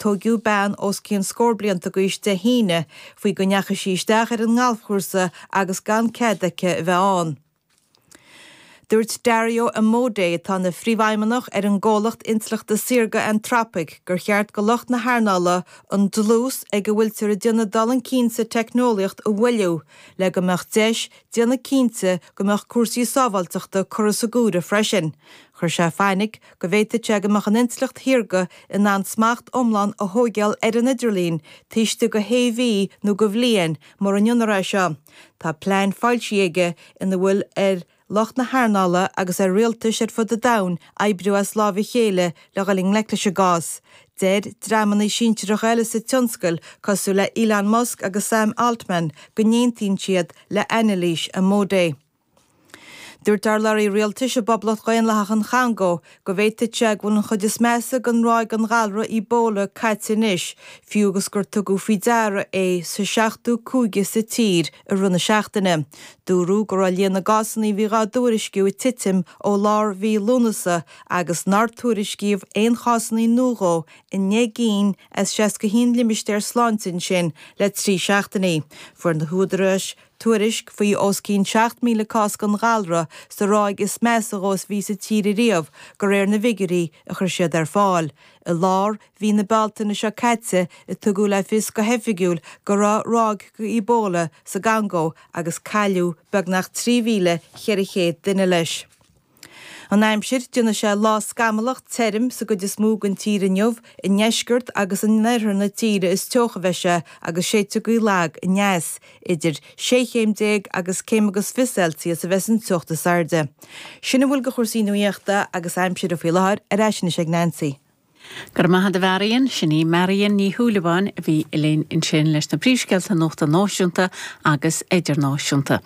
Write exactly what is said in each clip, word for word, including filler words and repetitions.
Tógadh bean os cionn scór blianta d'aois Dé hAoine faoi go ndeachaigh sí isteach ar an ngalfchúrsa agus gan cead aici a bheith ann. Dúirt Dario Amodei atá ina phríomhfheidhmeannach ar an gcomhlacht intleachta saorga Anthropic gur cheart go lucht na hearnála an dlús ag a bhfuiltear ag déanamh dul chun cinn sa teicneolaíocht a mhoilliú, le go mbeadh deis déanamh cinnte go mbeadh cúrsaí sábháilteachta curtha san áireamh freisin. Chuir sé fainic go bhféadfadh sé go mbeadh an intleacht shaorga in ann smacht iomlán a thógáil ar an idirlíon, taobh istigh de shé mhí nó de bhliain mura ndéanfar é seo. Tá plean foilsithe aige ina bhfuil ar lucht na hearnála agus ar rialtais ar fud an domhain oibriú as lámh a chéile le dhul i ngleic leis an gcás. Deir dreamanna sinsearacha eile sa tionscal cosúil le Elon Musk agus Sam Altman go n-aontaíonn siad le anailís Amodei. Dúirt urlabhraí rialtais i bPoblacht Dhaonlathach an Chongó go bhféadfadh sé go bhfuil an chuid is measa den ráig den ghalra Ebola caite anois, fiú agus gur tugadh faoi deara é sa seachtú cúige sa tír i rith na seachtaine. Dúradh go raibh líon na gcásanna a bhí á dtuairisciú ag titim ó lár mhí Lúnasa agus nár tuairiscíodh aon chásanna nua i ndeich gcinn as seasca haon limistéar sláinte ansin le trí seachtainí. Fuair na húdaráis tuairisc faoi os cionn seacht míle cás den ghalra sa ráig is measa dhó a bhí sa tír riamh de réir na bhfigiúirí a chuir siad ar fáil. I lár mhí na Bealtaine seo caite a tugadh le fios go hoifigiúil go raibh ráig Ebola sa gCongó agus cailleadh beagnach trí mhíle ceithre chéad duine leis. An aimsir déanfaidh sé lá scamallach tirim sa gcuid is mó den tír inniu i ndeisceart agus in oirthear na tíre is teocha a bheidh sé agus séidfidh gaoth lag aneas idir sé chéim déag agus céim agus fiche Celsius a bheas an teocht is airde. Sin a bhfuil de chúrsaí nuachta agus aimsire faoi láthair ar ais ag Nancy. Gur maith a Mharion sin í Marion Ní Shúilleabháin a bhí linn ansin leis na príomhscéalta nuachta náisiúnta agus idirnáisiúnta.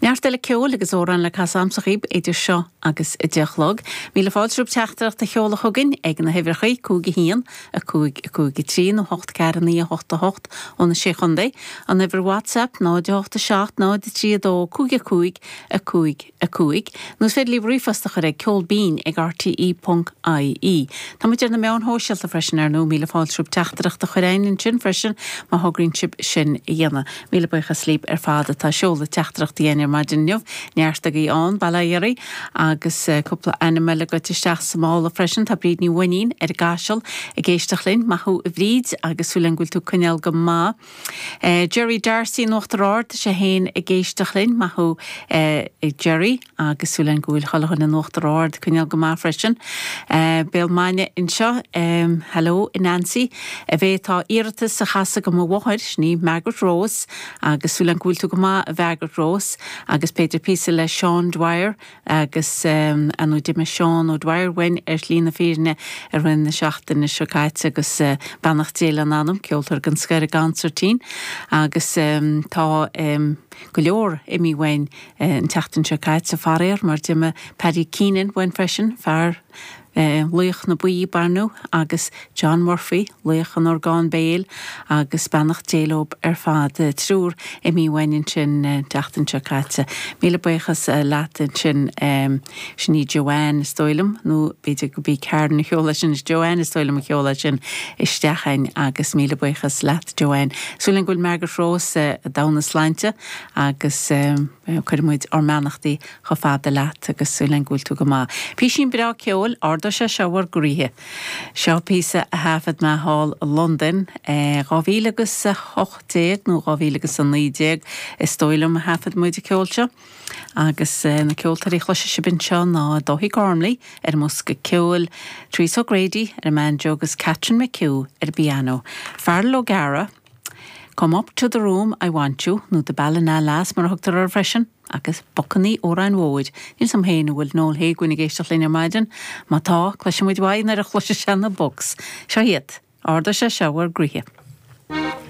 Neart eile ceoil agus amhrán le casadh agamsa daoibh idir seo agus a deich a chlog. Míle fáilte romhaibh teachtaireacht a sheoladh chugainn ag na huimhreacha cúig a haon a cúig a cúig a trí nó hocht ceathair naoi a hocht a hocht ó na sé chontae, an uimhir WhatsApp náid a hocht a seacht náid a trí a dó cúig a cúig a cúig a cúig, nó féidir libh ríomhphost a chur ag ceol binn ag RTE.ie. Tá muid ar na meáin shóisialta freisin ar ndóigh míle fáilte romhaibh teachtaireacht a chur chugainn ansin freisin má thograíonn sibh sin a dhéanamh. Míle buíochas libh ar fad atá ag seoladh teachtaireachtaí ar maidin inniu, neart agaibh ann bail ó Dhia oraibh agus cúpla ainm eile goite isteach sa mála freisin tá Bríd Ní Bhuinnín ar an gCaiseal ag éisteacht linn maith thú a Bhríd agus súil agam go bhfuil tú ag coinneáil go maith. Uh, Jerry Darcy in Uachtar Ard sé féin ag éisteacht linn maith thú uh, Jerry agus súil agam go bhfuil chuile dhuine in Uachtar Ard ag coinneáil go maith freisin. Uh, Béal Maine anseo um, hello Nancy a bhéith tá iarratas a chasadh do mo mháthair ní Margaret Rose agus súil agam go bhfuil tú go maith a Margaret Rose agus b'fhéidir píosa le Sean Dwyer agus um, an d'imigh Seán O'Dwyer uainn ar shlí na fírinne i rith na seachtaine seo caite agus uh, beannacht Dé lena anam ceoltóir den scoth ar an gconsairtín agus um, tá um, go leor imithe uainn uh, an tseachtain seo caite faraor mar d'imigh Paddy Keenan uainn freisin fear Uh, laoch na buí barnú agus John Murphy laoch an orgán béil agus beannacht Dé leo ar fad uh, triúr imithe uainn ansin uh, tseachtain seo caite. Míle buíochas uh, leat ansin um, sin í Joanne is dóigh liom nó b'fhéidir go bí Karen sheol sin is Joanne is dóigh liom a sheol sin isteach chugainn agus míle buíochas leat Joanne. Súil agam go bhfuil Margaret Rose uh, domhan sláinte agus um, cuirimid ár mbeannachtaí chomh fada leat agus súil agam go bhfuil tú go maith. Píosín breá ceoil ardóidh sé seo bhur gcroíthe. Seo píosa a thaifead mé thall i Londain dhá mhíle agus a hocht déag nó dhá mhíle agus a naoi déag is dóigh liom a thaifead muid an ceol seo. agus na ceoltóirí a chloisfidh sibh anseo ná Dáithí Gormley ar an mbosca ceoil, Therese O'Grady ar an mbanjo agus Catherine McHugh ar an bpianó. Feargal O'Gara, Come up to the room I want you nó the Ballina Lass mar a thugtar air freisin agus Bocannaí Óráin Mhóir. Níl a fhios agam féin an bhfuil Noel Héagúin ag éisteacht linn ar maidin, má tá cloisfidh muid uaidh nuair a chloisfidh sé na Books. Seo iad, ardóidh sé seo bhur gcroíthe.